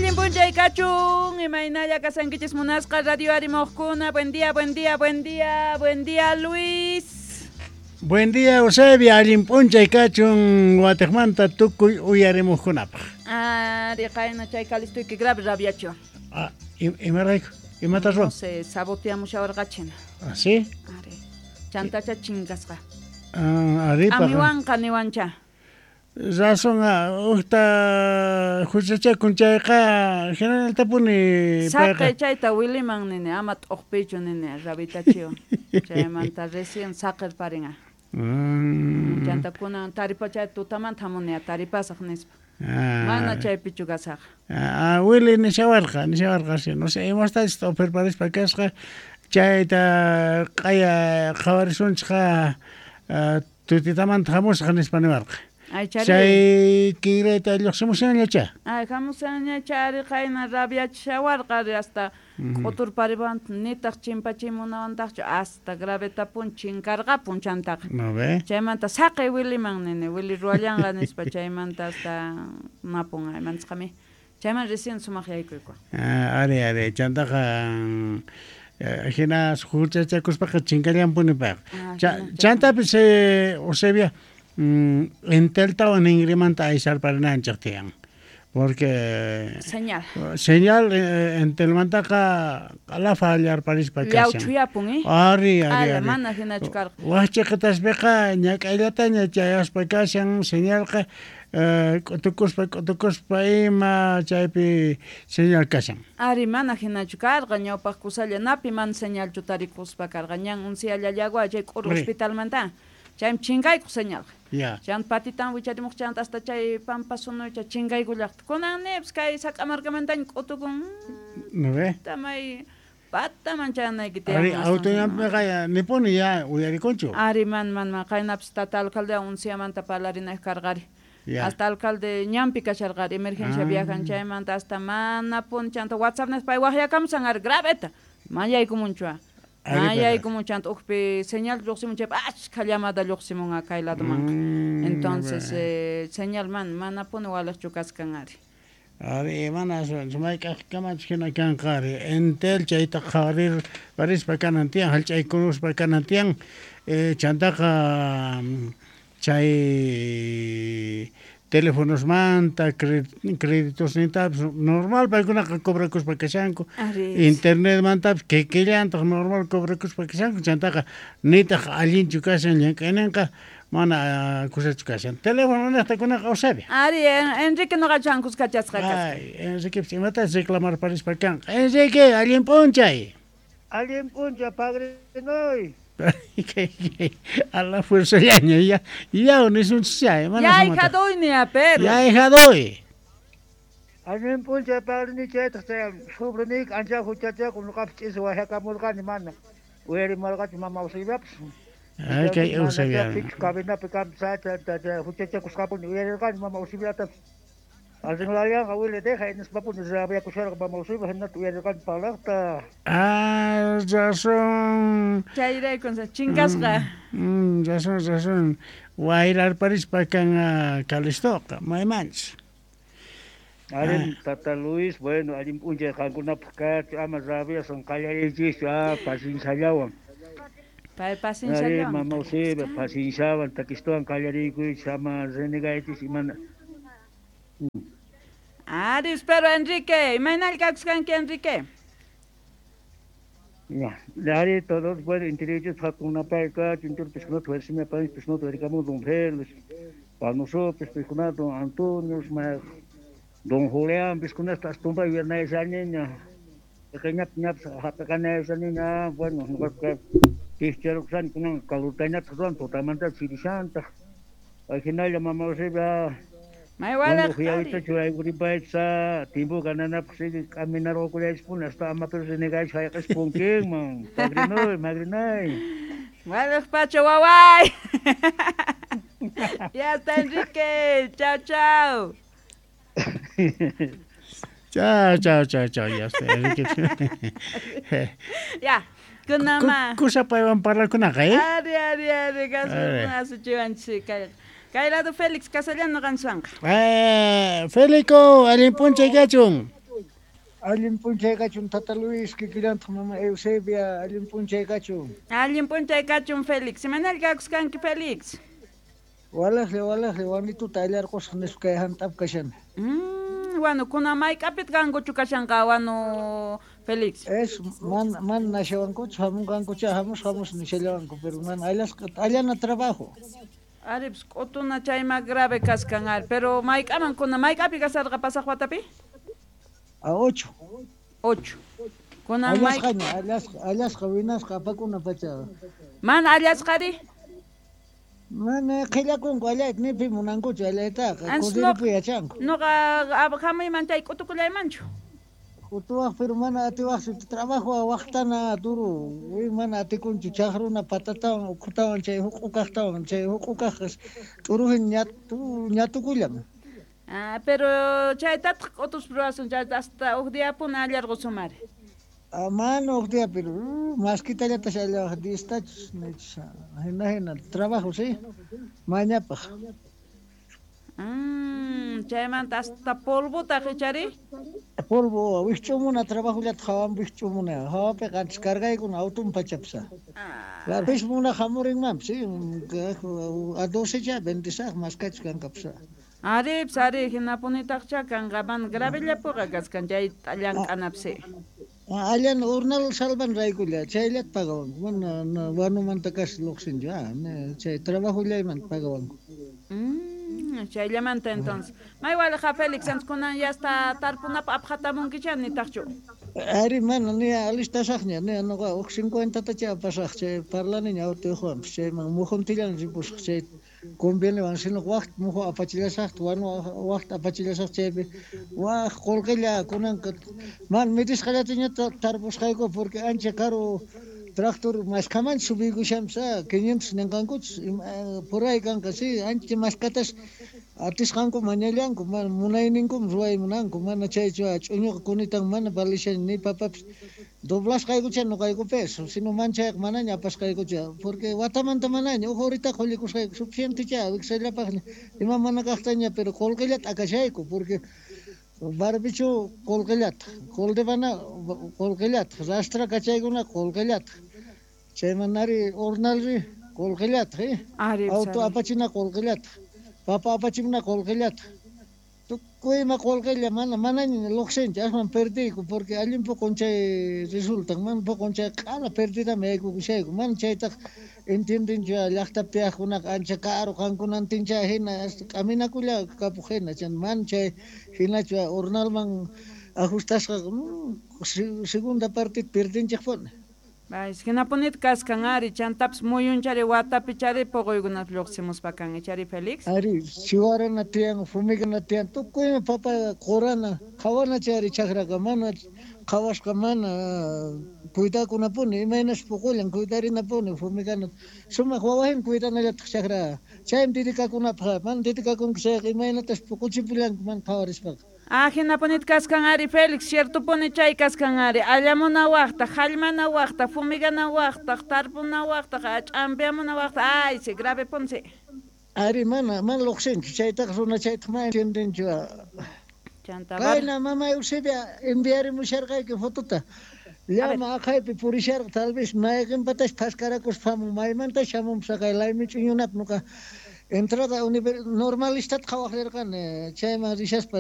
Allin p'unchay kachun, imaynalla kasankichis munasqa radio arimoqkuna. Buen día, buen día, buen día, buen día, Luis. Buen día, Eusebia, allin p'unchay kachun watejmanta tukuy uyarimuqkunapaq. Ari, qayna chay kalistuyki grave rabiachiwan. Ah, imarayku? Imata ruwan? No sé, saboteamushawarqachina. Ah, sí? Ari, chantacha chinkasqa. Ah, ari, paqa. Amiwanqa niwancha. Razón, ujta huchachakun chayqa generaltapuni Saqe payqa. chayta Williman nini, ama t'uqpichu nini, rabitachiwan. Chaymanta recién saqerparinqa. Chanta kunan taripa chay tutamanta hamunia taripasaq nispa. Mana chaypichu kasaq. Ah, Willy nishawarqa, nishawarqa, sí, no sé, imastachus t'uqpirparispa kasqa, chayta q'aya qhawarisunchikqa tutitamanta hamusaq nispa niwarqa. Ay, chari. Chay kinrayta lluqsimushanñachá. Ay, hamushanñachá, ari qayna rabiachishawarqa, ari hasta k'uturpariwan nitaq chimpachimunawantaqchu, hasta gravetapun chinkarqapun chantaqa. No ve? Chaymanta saqey Williman nini, Willy ruwallanqa nispa, chaymanta hasta napun, ay, manchaqami. Chayman recién sumaq yaykuyku. Ah, ari, ari, chantaqa, hina huchachakuspaqa chinkallanpuni payqa. Ah, hina Chantapis, Eusebia, Enteltawan ningrimanta aysarparinanchik tiyan. Porque Señal. Señal, Entelmantaqa q'alafa allarparispa kashan. Llawchuyapun, eh? Ari, ari, Ala, ari. mana hinachu karqa. Wajchiqitaspiqa ñak'ayllataña chayaspa kashan señalqa, k'utukuspa, k'utukuspa ima chaypi señal kashan. Ari, mana hinachu karqa, ñawpaq kusalla napi mana señalchu tarikuspa karqa, ñan unsiyallallagua chay k'uru hospitalmanta. Chaymi chinkaykuq señalqa. Ya. Chan patitan wicharimuq chanta hasta chay pampa sunucha chinkaykullaqta. Kunan nipis kay Sac'amarkamantaña k'utukun. ¿No ve? Tamay pataman chanayki tiyan. Ari, autoñanpiqa ya nipuni ya uyarikunchu. Ari, man, man, man, qaynapis tata alcalde unsiyamanta parlarinayq karqari. Ya. Hasta alcalde ñanpi kasharqari, emergencia viajan chaymanta hasta manapuni chanta WhatsApp nispa pay waqyakamusan ari graveta. Mayaykumunchua. Ari, pero Mayaykumun chanta ukpi señal lluqsimun chaypi achka llamada lluqsimun kay ladomanqa. Entonces, señal man, manapuni waliqchu kaskan ari. Ari, mana sumayk'aqkamachus hina kanqa ari. Entel chayta qhawarir parispa kanan tiyan, hallch'aykunuspa kanan tiyan. Chantaqa, chay teléfonosmanta, créditosnintapis normal paykunaqa cobrakuspa kashanku. Ari. Internetmantapis kikillantaq normal cobrakuspa kashanku. Chantaqa nitaq allinchu kashan llank'ayninqa, mana kusachu kashan. Teléfono niqtakunaqa Eusebia. Ari, Enrique noqachu kuskachasqa kasqa. Ay, Enrique, imatas reclamar parispa kanqa. Enrique, allin p'unchay. Allin p'unchay, padrinoy. A la fuerza ya, ya, ya, ya, nisunchis mana Ya, sumata. hija doy, ni a perro. Ya, hija doy. Allin p'unchay, padrinoy, chaytaq chay sobriniyki ancha huchachakun, ñuqapis ch'isi waqyakamurqani mana. Uyarimarqachu mama Eusebiapis. Ay, kay Mana Eusebia. chay pichu cabinapi kanpis, chay, chay, chay, huchachakusqapuni uyarirqani mama Eusebiatapis. Arreglarían, abuelo, deja, en ese papel, se había acusado, vamos a ir, no tuviera que pagar, Ah, razón. Chayrayku, o sea, chinkasqa. Razón, razón. Wayrar parispa kan, Calistoqa, maymanchis. Allin, Tata Luis, bueno, allin p'unchay qankunapaq kachu, ama rabiasan qallariychischu, pacienciallawan. Pay pacienciallawan. Ari, mama Eusebia, pacienciawan, takistuwan qallariycuychis, ama renegaychis, imana. Ari, espero, Enrique. Imaynalla kakusqanki, Enrique? Ya, ari, todos, bueno, interiores, jacunapay kachu, interiores, piscunato, versime, país, piscunato, ericamo, don Félix, Panosopes, piscunato, don Antonio, don Julián, piscunato, hasta tumba y viernes esa niña. Pequeña, piña, pues, ajá, pequeña esa niña, bueno, no creo que cristiano, que san, no, calutaña, pues, don, totalmente, chirisanta. Al final, la mamá Eusebia, May Bueno, wala fui ka ahorita rin. churay guribay sa timbo ganana pues caminar o kulay spoon hasta ama pero se negay sa ka spoon king man. Pagrinoy, magrinay. Wala pacho waway. Ya está Enrique. Chao, chao. Chao, chao, chao, chao. Ya está Enrique. Ya. Kunama. Kusa paywan parlakunaqa, eh? Ari, ari, ari, kasu, Ari. asuchiwanchik kay. Kay lado Félix Casallano qansuanqa. Felico, allin p'unchay kachun. Allin p'unchay kachun Tata Luis, kikillantaq mama Eusebia, allin p'unchay kachun. Allin p'unchay kachun Félix. Imanalla kakuskanki Félix? Walaqlla, walaqlla, wanituta allarqusaq nispa kay hant'ap kashani. Wanu, kunan mayk'apitaq kankuchu kashanqa wanu Félix? Es, mana, mana nashawankuchu, hamunqankuchá, hamus, hamus nishallawanku, pero mana allasqa, allana trabajo. Ari, pues, k'utuna chayma grave kaskan, ari, pero mayk'aman kunan, mayk'api kasarqa pasaq watapi? A 8. 8. Kunan may Allasqaña, allasqa, allasqa, winasqa, apakuna pacha. Mana allasqari? Mana qhillakunku allayta, ni pi munankuchu allaytaqa, Antes kudiripi yachanku. Noqa hamuyman chay k'utukullaymanchu. K'utuwaq, pero mana atiwaqchu, trabajo waqtana duro, wi mana atikunchu, chaqruna patatawan, ukhutawan, chay huq'ukaqtawan, chay huq'ukaqqa t'urujin ñatukullan. Ah, pero chaytataq k'utus ruwasun, chayta hasta huk diapuna allarqusumari. Ah, mana huk día, pero maskitallatas allawaq, distachus, nechus, hina hina, trabajo, sí, mañapaq. Chaymanta hasta polvotaq ichari? Polvo, wikch'umuna trabajollata hawan wikch'umuna, hawapiqa antes cargaykuna auton pachapsa. Ah. Pis muna hamurinmanpis, sí, a 12 ya, 26 más kachus kanqapsa. Ari, pues, ari, hinapunitaqcha kanqa, mana gravellapuqa kaskan chay llank'anapsi. Allan urnal salvan raykulla, chayllata pagawanku, mana wanumanta casi lluqsinchu, chay trabajollaymanta pagawanku. Chayllamanta entonces. May waliqa Félix, antes kunan ya hasta tarpunapaq apqatamunkicha nitaqchu. Ari, mana, ni alistasaqña, ni noqa huk 50tacha apasaq, chay parlaniña autoyuqwanpis, chayman mujuntillan ripusaq, chay conviene sino waqt muju apachillasaqta, wanu waqt apachillasaq chaypi, waq qullqilla kunanqa, mana medisqallataña tarpusqayku porque ancha karu tractor maskhamanchis subiykushanpis, 500 ninqankuchus, por ahí kanqa, sí, ancha maskatas atisqanku mañallanku, mana munayninkum ruway munanku, mana chaychu ch'uñuqa kunitan mana valishani ni papapis, doblasqaykucha noqaykupis, sino manchayqa manaña apasqaykucha, porque watamanta manaña, huk horita qullikusqayku, suficientecha, wiksallapaqña, ima mana kaqtaña, pero qullqillata akashayku, porque barbichu qullqillata, quldivana qullqillata, rastra kachaykuna qullqillata, chaymanari urnalri qullqillata, Ari, auto ari. apachina qullqillata, papa apachimuna qullqillata, tukuy ima qullqilla mana manaña lluqsinchu, aswan perdiyku, porque allin poqon chay resultan, mana poqon chay q'ala perdidami yaykukushayku, mana chaytaq entiendenchu llaqtapi tiyaqkunaqa ancha karu qankunantincha hina, hasta k'aminakulla kapuq hina, chay mana chay hinachu urnalman ajustasqa, segunda parte perdinchikpuni. Vais, hinapunita kaskan ari, chantapis muyunchari watapi chari poqoykunata lluqsimuspa kan, ichari Félix? Ari, chiwarana tiyan, fumigana tiyan, tukuyma papa qurana, qhawana chayri chakraqa, mana qhawasqa mana cuidakunapuni, imaynas puqullan, cuidarinapuni, fumigana, sumaq wawajin cuidanallataq chakra, chaymi dedikakunapaq, mana dedikakunku chayqa imaynatas puquchipullanku mana qhawarispaqa. Ah, hinapunita kaskan ari, Félix, ciertopuni chay kaskan ari, allamuna waqtaq, hallmana waqtaq, fumigana waqtaq, tarpuna waqtaq, ch'ampiamuna waqtaq, ay, sí, grave ponce. Ari, mana, mana lluqsinchu, chaytaqa runa chaytaq mana entiendenchu. Chanta, Kayna, mama Eusebia, enviarimusharqayki fotota. Llama aqhaypi purisharqa, tal vez mayqinpatash phaskarakuspa hamun, maymantash hamunpas aqhay laymi ch'uñunapi nuqa entrada normalistata qhawaq rirqani, chayman rishaspa.